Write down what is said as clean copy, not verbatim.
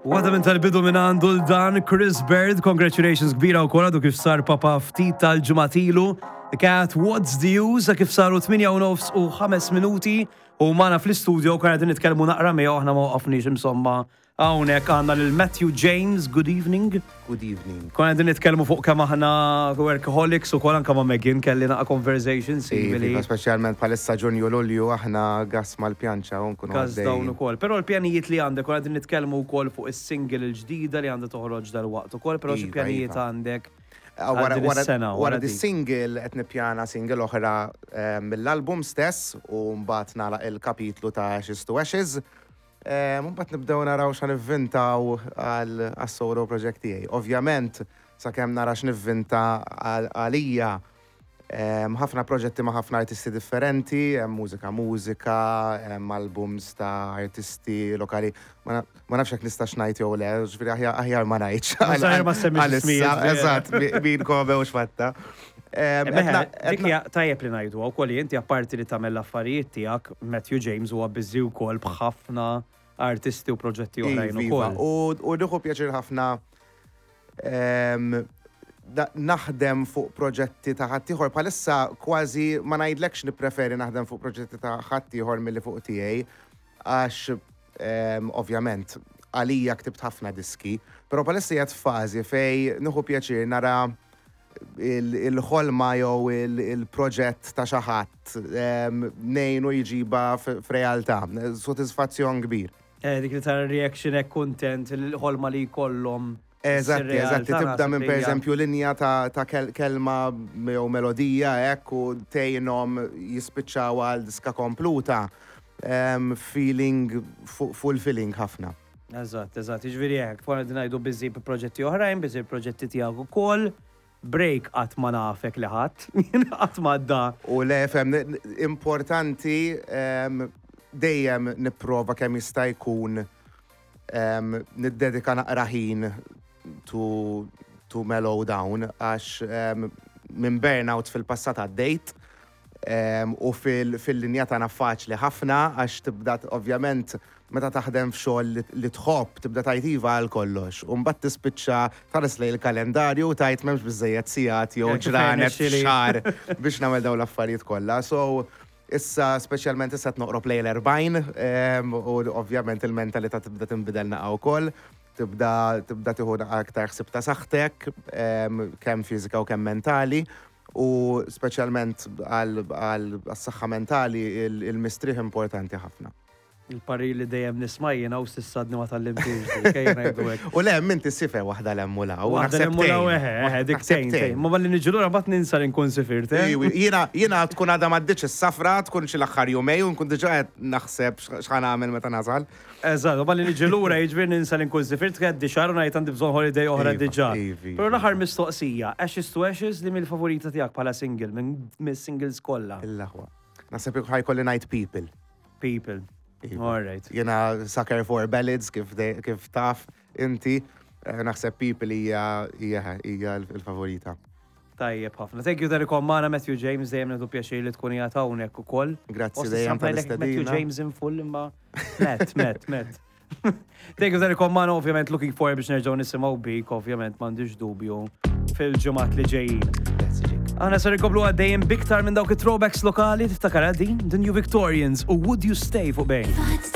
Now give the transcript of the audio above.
Waħda minn tal-bidu minn għandu l-dan Chris Bird, congratulations kbira u għadu kif sar papa ftit tal-ġimgħat ilu. The Cat, What's the Use, kif saru 8 u nofs u 5 minuti u magħna fl-istudio konna qegħdin nitkellmu naqra miegħu aħna ma waqafniex insomma. Hawnhekk għandna lil Matthew James, good evening. Good evening. Konna qegħdin nitkellmu fuq kemm aħna workaholics u kol anka ma' Megan kelli naqa' conversation simili. Iva, speċjalment bħalissa Ġunju Lulju aħna gas mal-pjanċa u nkunu Gas dawn ukoll. Però l-pjanijiet li għandek, konna qegħdin nitkellmu wkoll fuq is-single il-ġdida li għandha toħroġ dalwaqt ukoll, però xi Iva, pjanijiet iva. għandek Ah, għal Wara, din wara, is-sena, wara wara di dik. single qed nippjana single oħra eh, mill-album stess u mbagħad nagħlaq il-kapitlu ta' Ashes to Ashes. Eh, Mbagħad nibdew naraw xa nivvintaw għal għas-solo project tiegħi. Ovvjament, sakemm nara x'nivvinta għal- għalija Em, ħafna proġetti ma' ħafna artisti differenti, hemm mużika mużika, hemm albums ta' artisti lokali. Ma na- ma nafx jekk nistax ngħid jew le, ġifieri aħjar aħjar ma ngħidx. Mhux aħjar ma semmix Għalissa, ismijiet, vera. Eżatt, mi- min kobe u xfatta. Em, Meħe, etna- dik etna- hija tajjeb li ngħidu wkoll li inti apparti li tagħmel l-affarijiet tiegħek, Matthew James huwa busy wkoll b'ħafna artisti u proġetti oħrajn Iva, iva. ukoll. U u nieħu pjaċir ħafna em, da- naħdem fuq proġetti ta' ħaddieħor. Bħalissa kważi ma ngħidlekx nippreferi naħdem fuq proġetti ta' ħaddieħor milli fuq tiegħi għax em, ovvjament għalija ktibt ħafna diski, però bħalissa qiegħed f'fażi fej nieħu pjaċir nara il- il-ħolma jew il- il-proġett ta' xi ħadd em, ngħinu jġiba f- f'realtà. Sodisfazzjon kbir. Eh, Dik li tara reaction hekk kuntent, il-ħolma li jkollhom. Eżatti, ssir eżatti, realtà, tibda naħseb minn li per hija- eżempju linja ta', ta kel kelma jew melodija hekk u tgħinhom jispiċċaw għal diska kompluta. Um, feeling, fu- fulfilling ħafna. Eżatt, eżatt, jiġifieri hekk, fuq qegħdin ngħidu busy b'proġetti oħrajn, busy b'proġetti tiegħek ukoll. Break qatt ma nafek li ħadd, qatt ma għadda. U le, fem, importanti um, dejjem nipprova kemm jista' jkun um, niddedika naqra ħin to, to mellow down għax um, minn burnout fil-passat għaddejt um, u fil- fil-linja tagħna faċli ħafna għax tibda ovvjament meta taħdem f'xogħol li, li tħobb tibda tgħid iva għal kollox. U mbagħad tispiċċa tħares lejn il-kalendarju u tgħid m'hemmx biżejjed sigħat jew Eh, kif ġranet irnexxieli. xahar biex nagħmel dawn l-affarijiet kollha. So issa speċjalment issa qed noqrob lejn l-40 em, u ovvjament il-mentalità tibda tinbidel naqa' wkoll. Tibda tibda tieħu naqa' aktar ħsieb ta' saħħtek, em, kemm fiżika u kemm mentali. U speċjalment għal saħħa mentali il-mistrieħ importanti ħafna. Il-parir li dejjem nisma' jiena u s'issa għadni ma tgħallimtix dik, ejja ngħidu hekk. U le, minti sifer waħda l-hemm u law. Waħda naħseb li mula tgħin. eħe, eħe, dik Naħseb tgħin, tgħin. Ma malli niġi lura mbagħad ninsa li nkun sifirt, eh? Iwi, Jiena jiena tkun għadha m'għaddiċ is-safra, tkun xi l-aħħar jumej u nkun diġà qed naħseb x'ħa nagħmel meta nasal. Eżatt, u malli niġi lura jiġifieri ninsa li nkun sifirt għaddi xahar u ngħid għandi bżonn holiday oħra Iva, diġà. iva, Però iva. l-aħħar mistoqsija, Ashes to Ashes li mill-favorita tiegħek bħala single minn mis-singles kollha. Il-aħwa. Naħseb ħa jkolli ngħid People. People. Iva. All right. Jiena sucker for ballads kif, de, kif taf inti. eh, Naħseb People hija hija hija il-favorita. Tajjeb ħafna. Thank you talli kont magħna Matthew James dejjem nieħdu pjaċir li tkun qiegħed hawnhekk ukoll. Grazzi Osti dejjem samplajlek Matthew tal-istedina. James in full imma Matt, Matt, Matt. Thank you talli kont magħna ovvjament looking forward biex nerġgħu nisimgħu bik, ovvjament m'għandix dubju fil-ġimgħat li ġejjin. Grazzi Jake. Aħna ser inkomplu għaddejjin b'iktar minn dawk it-throwbacks lokali tiftakar din The New Victorians u Would You Stay fuq Bejn. If I had to take